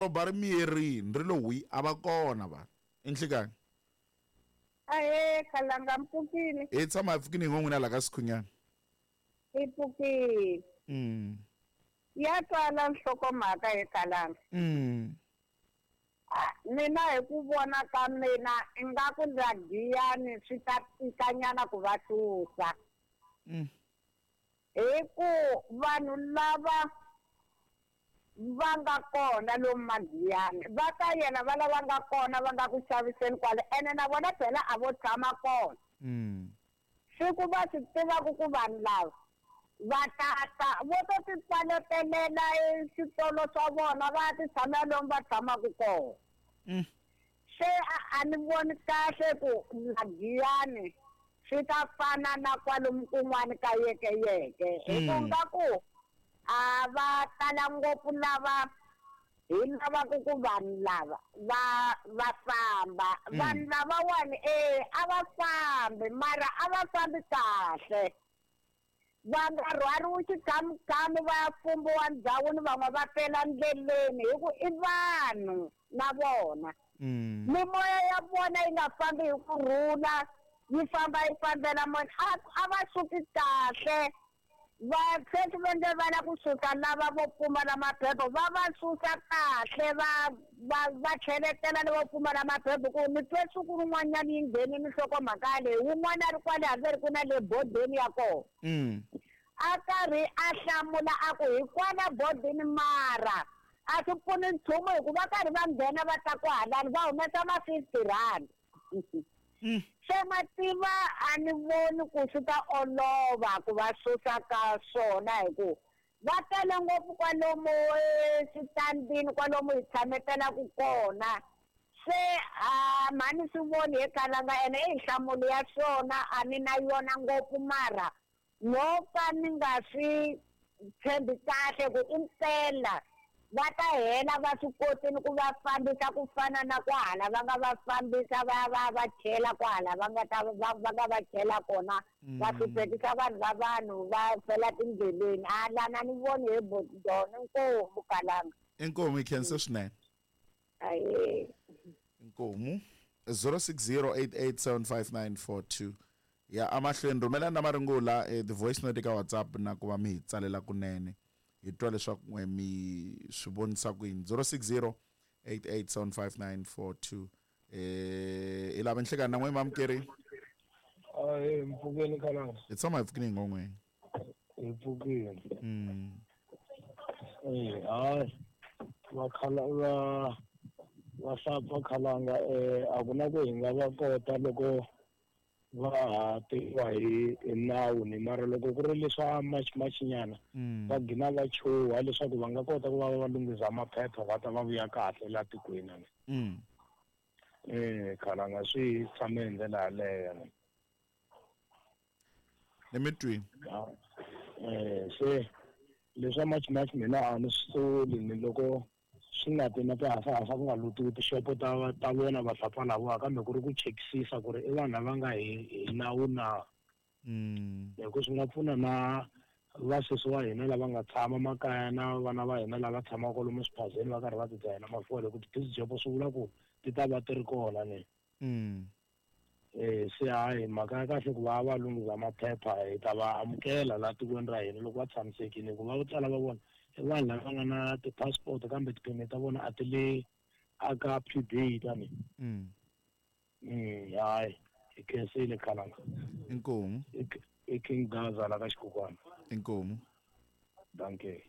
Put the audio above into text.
Doroba ri miyerini ri lo hwi, a va kona vanhu. I nhlikani. Ahee, Khalanga mi pfukile? Hi tshama hi pfukile hi ngo n'wina la ka Sikhunyana. Hi pfukile. Ya twala nhlokomhaka he Khalanga. Mina hi ku vona ka mina ingaku la Giyani swi ta tikanyana ku va susa. Hi ku vanhu lava va nga kona lomu Magiyani va ka yena va lava nga kona va nga ku xaviseni kwale ene na vona phela a vo tshama kona. Siku va swi tivaka ku vanhu lava va ta ta vo to ti pfaletelela eswitolo swa vona va ya ti tshamela lomu va tshamaka kona. Se a ni voni kahle ku la Giyani swi ta fana na kwalomu kun'wana ka yekeyeke hi ku nga ku a va tala ngopfu lava hi lavaka ku vanhu lava va va famba. Vanhu lavawani e a va fambi mara a va fambi kahle. Va nga rhwariwi xikhamukhami va ya fumbiwa ndhawini van'we va fela ndleleni hi ku i vanhu na vona. Mimoya ya vona yi nga fambi hi ku rhula yi famba yi fambela moya a va suki kahle. Va sweswi va nge va lava ku susa lava vo pfumala maphepha va va susa kahle va va va tlheletela lavo pfumala maphepha ku ni twe siku rin'wanyana yi nghenile nhlokomhaka leyi wun'wana a ri kwale hambi ri ku na le bodeni ya kona. A karhi a hlamula a ku hi kwala bodini mara a swi pfuni nchumu hikuva karhi va nghena va ta kwahalani va humesa ma 50 rand. Se ma tiva a ni voni ku swi ta olova ku va susa ka swona hi ku va tele ngopfu kwalomu eswitandini kwalomu hi tshametelaka kona. Se a mhani swi voni he Khalanga ene i nhlamulo ya swona a ni na yona ngopfu mara no ka ni nga swi tshembi kahle ku impela va ta hela va swi kotini ku va fambisa ku fana na kwahala va nga va fambisa va va va chela kwahala va nga ta va va nga va chela kona va hluphekisa vanhu va vanhu va fela tindleleni. A lana ni voni he Botidon inkomu Khalanga. Inkomu hi khensa swinene. Ahee. Inkomu 0608875942 ya amahlweni rhumelani na marungula ti-voice note eka WhatsApp na ku va mi hi tsalela kunene hi twa leswaku n'we mi swi vonisa ku yini. 0608875942 hi lava nhlekani na n'we mamukeri. Ahee, mpfukeni Khalanga. Hi tshama hi pfukile hi ngon'weni. Hi pfukile. Hayi va khala va va hlapfa Khalanga a ku na ku hi nga va kota loko va ha tiviwa hi nawu ni mara loko ku ri leswa March March nyana va gina va chuha leswaku va nga kota ku va va lunghisa maphepha va ta va vuya kahle la tikweni. Khalanga swi tshame hi ndlela yaleyo. Ni mi twini. Se leswa March March mina a ni swi soli ni loko swi nga ti na tihasahasa ku nga lutiwi tixopo ta ta vona vahlapfa lavawa kambe ku ri ku chekisisa ku ri i vanhu lava nga hi nawu na. Hi ku swi nga pfuna na vasesi wa hina lava nga tshama makaya na vana va hina lava tshamaka kwalomu swiphazeni va karhi va tidzahela mafole ku ti-busy job swi vula ku ti ta va ti ri kona ni. Se hayi mhaka ya kahle ku va va lunghisa maphepha hi ta va amukela laha tikweni ra hina loko va tshamisekile hikuva vo tala va vona i vanhu lava nga na ti-passport kambe ti-permit ta vona a ti le aka P_B tani. Hayi hi khensile Khalanga. Inkomu. I King Gaza la ka Xikukwana. Inkomu. Dankie.